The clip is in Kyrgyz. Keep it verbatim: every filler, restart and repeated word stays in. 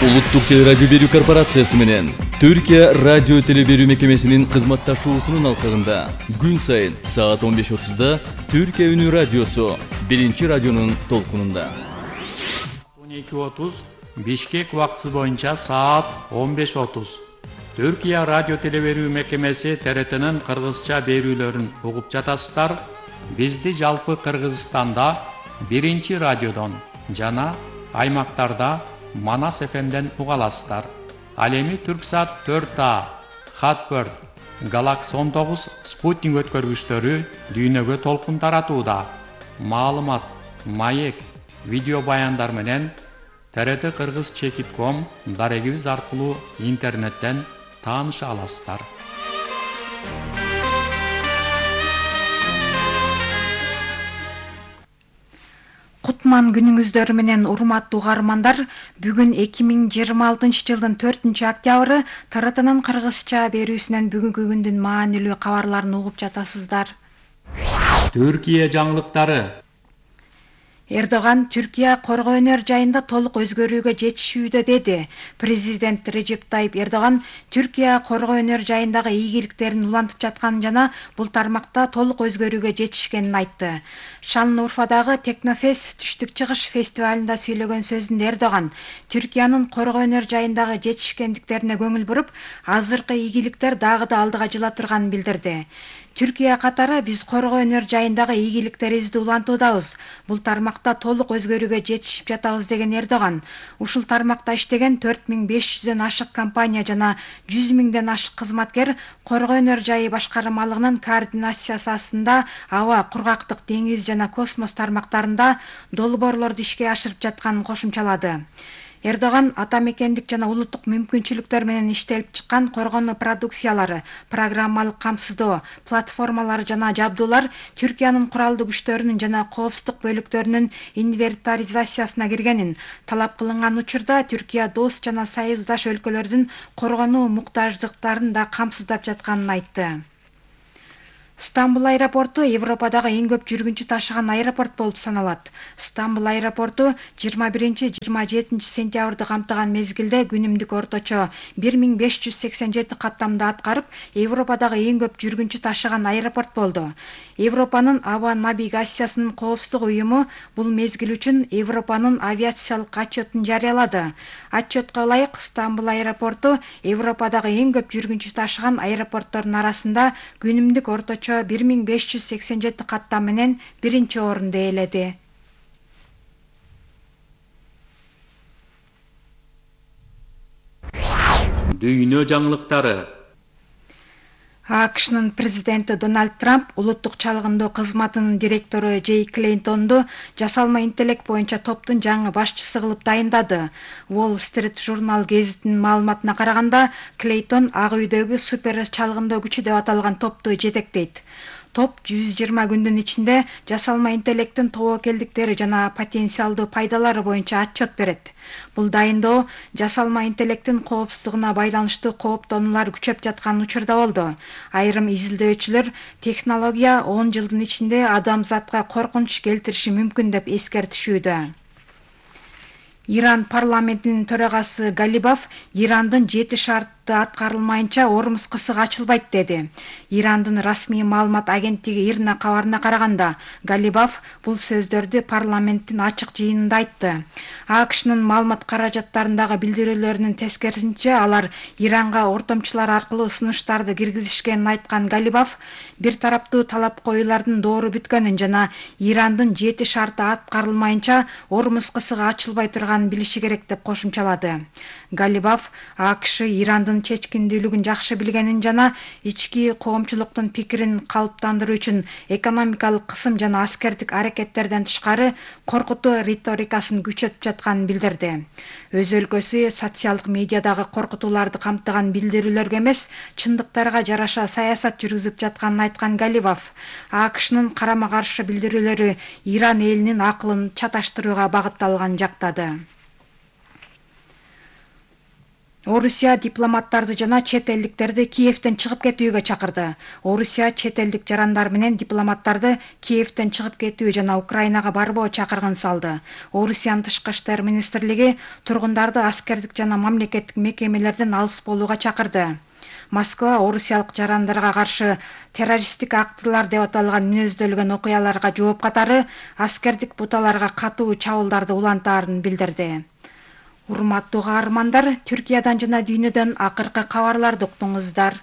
Улуттук теле радио берүү корпорациясы менен Түркия радио теле берүү мекемесинин кызматташуусунун алкагында күн сайын саат он беш отузда Түркия үнү радиосу биринчи радионун толкунунда. он эки отуз Бишкек убактысы боюнча саат он беш отуз. Түркия радио теле берүү мекемеси Т Р Т'нин кыргызча берүүлөрүн угуп жатасыздар. Бизди жалпы Кыргызстанда биринчи радиодон жана аймактарда Манас эф эмден уга аласыздар. Ал эми Түрксат төрт А, Хатбird, Galaxy он тогуз спутник өткөргүчтөрү дүйнөгө толкун таратууда. Маалымат, маек, видео баяндар менен Т Р Т Кыргыз чекит ком дарегибиз аркылуу интернеттен тааныша аласыздар. Кутман күнүңүздөр менен урматтуу угармандар, бүгүн эки миң жыйырма алтынчы жылдын төртүнчү октябры Т Р Т'нын кыргызча берүүсүнөн бүгүнкү күндүн маанилүү кабарларын угуп жатасыздар. Түркия жаңылыктары. Эрдоган Түркия коргоо өнөр жайында толук өзгөрүүгө жетишүүдө деди. Президент Режеп Тайип Эрдоган Түркия коргоо өнөр жайындагы ийгиликтерин улантып жатканын жана бул тармакта толук өзгөрүүгө жетишкенин айтты. Шанлыурфадагы Технофест түштүк чыгыш фестивалында сүйлөгөн сөзүндө Эрдоган Түркиянын коргоо өнөр жайындагы жетишкендиктерине көңүл буруп, азыркы ийгиликтер дагы да алдыга жыла турганын билдирди. Түркия катары биз коргоо өнөр жайындагы ийгиликтерибизди улантуудабыз. Бул тармакта толук өзгөрүүгө жетишип жатабыз деген Эрдоган, ушул тармакта иштеген төрт миң беш жүздөн ашык компания жана жүз миңден ашык кызматкер коргоо өнөр жайы башкармалыгынын координациясы астында аба, кургактык, деңиз жана космос тармактарында долбоорлорду ишке ашырып жатканын кошумчалады. Эрдоган ата мекендик жана улуттук мүмкүнчүлүктөр менен иштелип чыккан коргонуу продукциялары, программалык камсыздоо, платформалар жана жабдуулар Түркиянын куралдуу күчтөрүнүн жана коопсуздук бөлүктөрүнүн инвентаризациясына киргенин, талап кылынган учурда Түркия дос жана союздаш өлкөлөрдүн коргонуу муктаждыктарын да камсыздап жатканын айтты. Стамбул аэропорту Европадагы эң көп жүргүнчү ташыган аэропорт болуп саналат. Стамбул аэропорту жыйырма биринчи — жыйырма жетинчи сентябрды камтыган мезгилде күнүмдүк орточо бир миң беш жүз сексен жети каттамды аткарып, Европадагы эң көп жүргүнчү ташыган аэропорт болду. Европанын аба навигациясынын коопсуздук уюму бул мезгил үчүн Европанын авиациялык отчетун жарыялады. Отчетко ылайык, Стамбул аэропорту Европадагы эң көп жүргүнчү ташыган аэропорттордун арасында күнүмдүк орточо бир миң беш жүз сексен жети каттам менен биринчи орунду ээледи. Дүйнө жаңылыктары. А К Шнын президенти Дональд Трамп улуттук чалгындоо кызматынын директору Джей Клейнтонду жасалма интеллект боюнча топтун жаңы башчысы кылып дайындады. Wall Street журнал гезитинин маалыматына караганда, Клейтон Ак үйдөгү супер чалгындоо күчү деп аталган топту жетектейт. Топ жүз жыйырма күндүн ичинде жасалма интеллекттин тобокелдиктери жана потенциалдуу пайдалары боюнча отчет берет. Бул дайындоо жасалма интеллекттин коопсуздугуна байланыштуу кооптонуулар күчөп жаткан учурда болду. Айрым изилдөөчүлөр технология он жылдын ичинде адамзатка коркунуч келтириши мүмкүн деп эскертишүүдө. Иран парламентинин төрагасы Галибаф Ирандын жети шарты аткарылмайынча Ормуз кысыгы ачылбайт деди. Ирандын расмий маалымат агенттиги Ирна кабарына караганда, Галибаф бул сөздөрдү парламенттин ачык жыйынында айтты. А К Шнын маалымат каражаттарындагы билдирүүлөрүнүн тескерисинче, алар Иранга ортомчулар аркылуу сунуштарды киргизишкенин айткан Галибаф бир тараптуу талап коюулардын доору бүткөнүн жана Ирандын жети шарты аткарылмайынча Ормуз кысыгы ачылбай турганын билиши керек деп кошумчалады. Галибаф А К Ш Ирандын чечкиндүүлүгүн жакшы билгенин жана ички коомчулуктун пикирин калыптандыруу үчүн экономикалык кысым жана аскердик аракеттерден тышкары коркутуу риторикасын күчөтүп жатканын билдирди. Өз өлкөсү социалдык медиадагы коркутууларды камтыган билдирүүлөргө эмес, чындыктарга жараша саясат жүргүзүп жатканын айткан Галибаф, А К Шнын карама каршы билдирүүлөрү Иран элинин акылын чаташтырууга багытталганын жактады. Орусия дипломаттарды жана чет элдиктерди Киевден чыгып кетүүгө чакырды. Орусия чет элдик жарандар менен дипломаттарды Киевден чыгып кетүү жана Украинага барбоо чакыргын салды. Орусиянын тышкы иштер министрлиги тургундарды аскердик жана мамлекеттик мекемелерден алыс болууга чакырды. Москва орусиялык жарандарга каршы террористтик актылар деп аталган мүнөздөлгөн окуяларга жооп катары аскердик буталарга катуу чабуулдарды улантаарын билдирди. Урматтуу каармандар, Түркиядан жана дүйнөдөн акыркы кабарларды уктуңуздар.